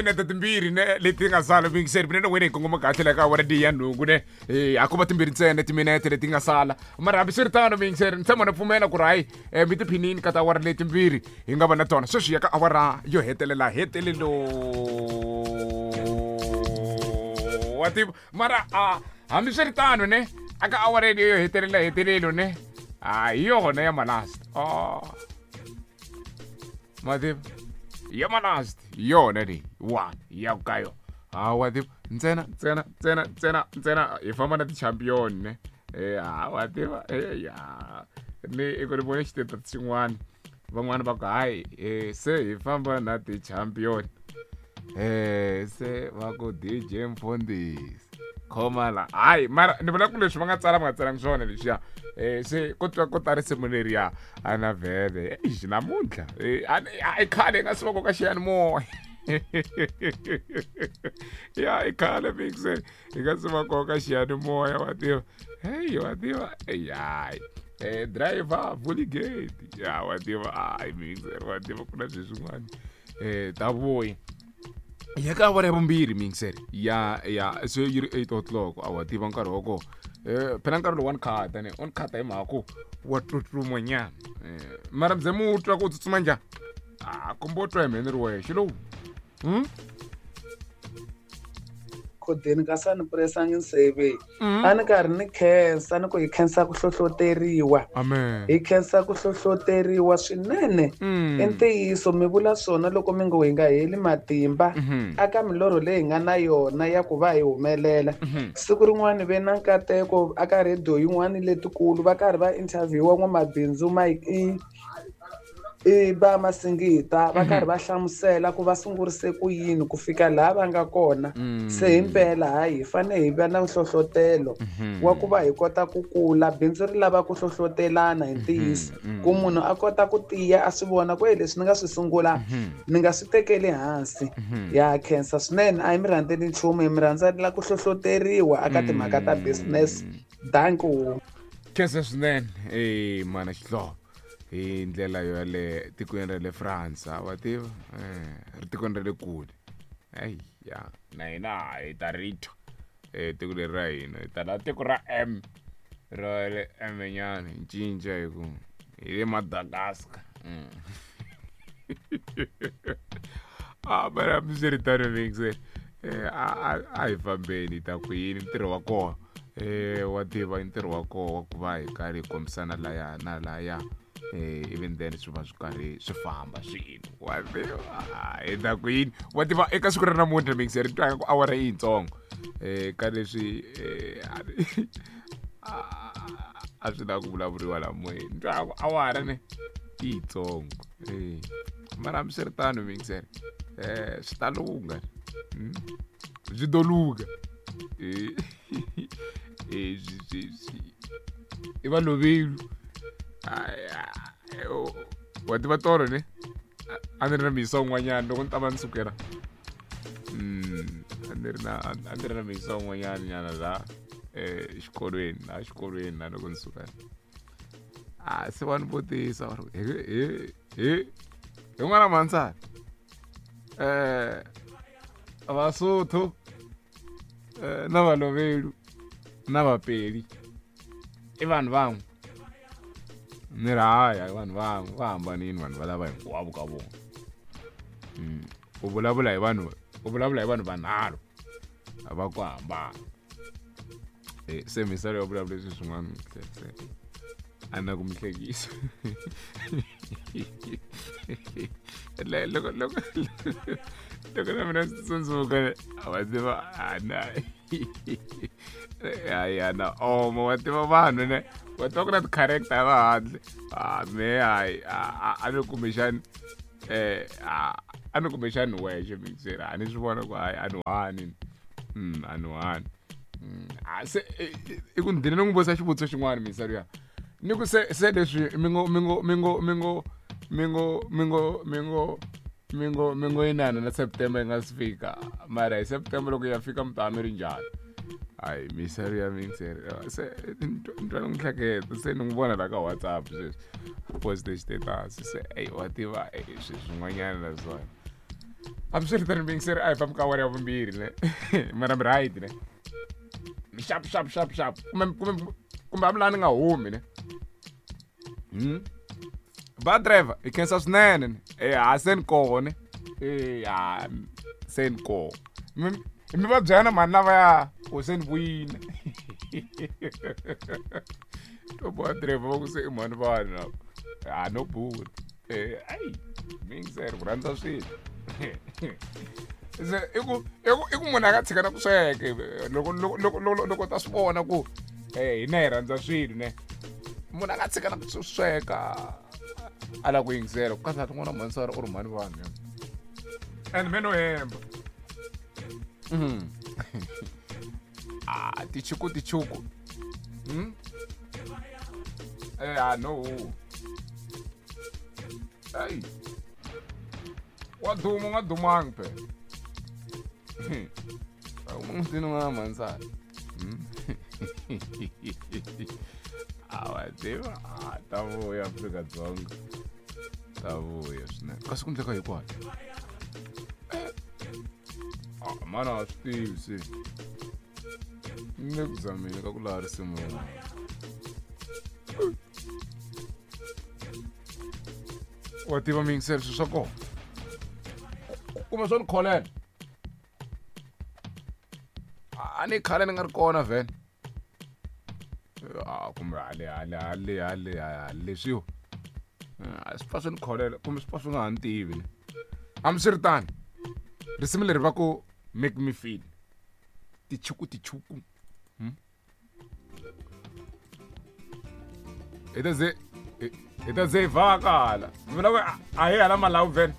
Timinete timbirhi ne leti nga sala muyingiseri, mina na wena hi kongoma kahle la ka awara leyi ya nhungu ne. A ko va timbirhi ntsena timinete leti nga sala, mara hambiswiritano muyingiseri, ni tshemba na pfumela ku ri hayi, mi tiphinini ka tiawara letimbirhi hi nga va na tona. Sweswi ya ka awara yo hetelela hetelelo, wa tiva. Mara a hambiswiritano ne, a ka awara yo hetelela hetelelo ne, a hi yona ya malast. Oh, ma tiva, ya malast hi yona leyi one ya ku ka yona. Ha, wa tiva, ntsena ntsena ntsena ntsena ntsena hi famba na ti-champion ne. Ha, wa tiva, ya ni i ku ni vone xiteto xin'wana, van'wani va ku hayi, se hi famba na ti-champion. Se va ku DJ Mfundhisi khoma la. Hayi, mara ni vula ku leswi va nga tsala, va nga tsalangi swona leswiya. Se ko twa ko ta risimu leriya a na vhele eish namuntlha. A i khale hi nga swi va koka xiyanimoya. Ya, i khale mixer hi nga swi va koka xiyanimoya, wa tiva. Hey, wa tiva, hayi, driver vuli gate ya, wa tiva. Hayi mixer, wa tiva, ku na sweswin'wana ta vuya ya ka awara ya vumbirhi mixer ya se yi ri 8 o'clock. A wa tiva nkarhi wa kona. Phela nkarhi lowu wa ni khata ne, u ni khata hi mhaka ku wa tsutsuma nyana. Mara mze mu twa ku u tsutsuma njhani? A kumbe u twa hi mheni ri wexe lowu? Khodeni ka sani presangi nseve. A ni karhi ni khensa, ni ku hi khensa ku hlohloteriwa. Amen. Hi khensa ku hlohloteriwa swinene. I ntiyiso mi vula swona loko mi ngo hi nga heli matimba aka milorho leyi hi nga na yona ya ku va hi humelela. Siku rin'wana ve na nkateko aka radio yin'wana letikulu, va karhi va interviewa n'wamabindzu i va Masingita, va karhi va hlamusela ku va sungurise ku yini ku fika laha va nga kona. Se himpela hayi, hi fanele hi va na nhlohlotelo wa ku va hi kota ku kula. Bindzu ri lava ku hlohlotelana hi ntiyiso, ku munhu a kota ku tiya, a swi vona ku leswi ni nga swi sungula ni nga swi tekeli hansi. Ya khensa swinene, a hi mi rhandzeli nchumu, hi mi rhandzela ku hlohloteriwa aka timhaka ta business. Danko. Khensa swinene, mana xihlovo hi ndlela yo ya le tikweni ra le France, wa tiva, ri tikweni ra le kule. Ayi ya, na hina hi ta ri twa tiko leri ra hina, hi ta la tiko ra M ra le M nyana, hi cinca hi ku hi le Madagascar. A mara hambiswiritano mixer, a hi fambeni hi ta ku yini, ntirho wa kona, wa tiva, i ntirho wa kona wa ku va hi karhi hi kombisana laya na laya, even then swi va swi karhi swi famba swilo, wa tiva. Hi ta ku yini, wa tiva, eka siku ra namuntlha mixer, ri twa ku awara yi yitsongo ka leswi a swi lava ku vulavuriwa la moyeni. Ni twa ku awara ne i yitsongo, mara hambiswiritano mixer, swi ta lungha, swi to lungha. I va lovelu, wa tiva. Tolo ne a ni ri na miyisa un'wanyana loko ni ta va ni sukela, a ni ri na miyisa un'wanyana nyana la xikolweni, la xikolweni la loko ni suka, a se va ni vutisa va ri hi n'wana mansana, Vasotho na Valovelu na Vapeli i vanhu van'we? Ni ri hayi, i vanhu van'we, va hambanini vanhu valava hinkwavo ka vona. U vulavula hi vanhu, u vulavula hi vanhu vanharhu va ku hambana. Se misalo ya vulavula leswi swin'wana, se a na ku mi hlekisa loko na mina swi tsundzuka, a va tiva ana ya na oma, wa tiva, vanhu ne, wa tiva ku na ti-character va handle. A me hayi, a ni kumbexani, a ni kumbexani wexe mixer, a ni swi vona ku hayi, a ni hani, a ni hani. Se i ku ndini ni n'wi vutisa xivutiso xin'wana misalo ya, ni ku se leswi mi ngo mi ngo mi ngo mi ngo mi ngo mi ngo mi ngo mi ngo mi ngo inana na September yi nga si fika, mara hi September loko ya fika mi ta mi ri njhani? Hayi, misalo ya mixer, se ni twa ni n'wi hleketa, se ni n'wi vona la ka WhatsApp sweswi, post status. Se ey, wa tiva, swilo swin'wanyana naswona. Hambiswiritano muyingiseri a hi fambi ka awara ya vumbirhi ne mara mi right ne mi xap xap xap xap kumbe kumbe kumbe hambi laha ni nga humi ne ba driver hi khensa swinene ne e ha se ni koho ne e ha se ni koho mi mi va byela na mhani lavaya ku se ni vuyile to boha driver va ku se i mhani vanhu lava ha no bula ayi miyingiseri ku rhandza swilo se i ku i ku i ku munhu a nga tshika na ku sweka loko loko loko loko loko ta swi vona ku hina hi rhandza swilo ne munhu a nga tshika na ku sweka a lava ku yingisela ku kahle tin'wana mhanisara u ri mhani vanhu and me no hemba ah tichuku tichuku a no ayi wa duma u nga dumangi phela umutini n'wana mhanisana a wa tiva a ta vuya Afrika-Dzonga ta vuya swinene kasi ku ndleka hikwani a mana a swi tivi se ni le ku zameni ka ku laha risimu rin'wana wa tiva miyingiselo swilo swa kona kumbe swo ni kholela a ni khale ni nga ri kona vhele a kumbe hale hale hale hale hale leswiwa a swi pfa swi ni kholela kumbe swi pfa swi nga ha ni tivi ne hambiswiritano risimu leri va ku make me feel tichuku tichuku hi ta ze hi ta ze hi vhaka hala mi vula ku a hi hala malawu vhele